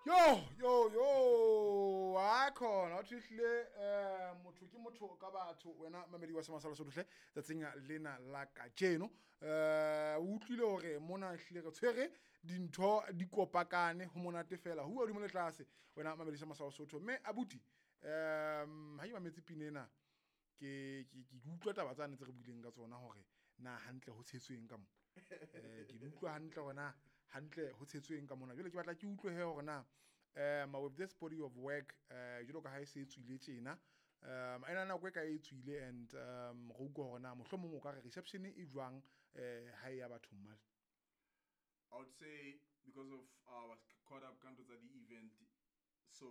Yo, yo, yo, a khona o tlile motho ke motho ka batho. Wena mamedi wa Semasala Sotlhe, tsatsing lena la kajeno o utlwile hore mona hlile re tshwere dintho di kopakane ho monate fela ho hodimo le tlase. Wena mamedi sa Masala Sotho, mme abuti, ha ke mametse pina ena, ke utlwa taba tsane tse re buileng ka tsona hore na hantle ho tshetsweng ka mo. Ke di utlwa hantle hore na hantle ho tshetsweng ka mona. Jwale ke batla ke utlwe he hore na with this body of work, jwalo ka ha e se e tswile tjena, ena nako e ka e tswile, and re utlwa hore na mohlomong o ka re reception e jwang ha e ya bathong male. I would say because of I was caught up ka ntho tsa di-event, so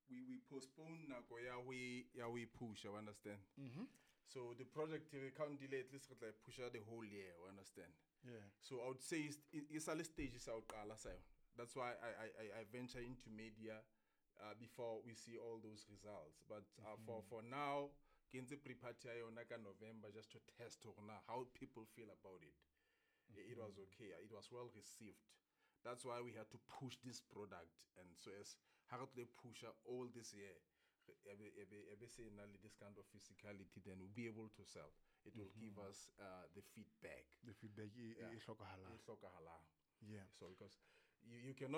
we postpone nako ya ho e pusha, you understand? So the project re count delay, at least re tla e pusha the whole year, you understand? Yeah. So I would say it's a stage sa ho qala sa yona. That's why I venture into media before we see all those results. But for now, ke ntse pre-party ya yona ka November just to test hore na how people feel about it. It was okay. It was well received. That's why we had to push this product. And so as ha re tlo e pusha all this year, ebe se na le this kind of physicality, then we'll be able to sell. It will give us the feedback. The feedback e hlokahalang. E hlokahalang. Yeah. So because you cannot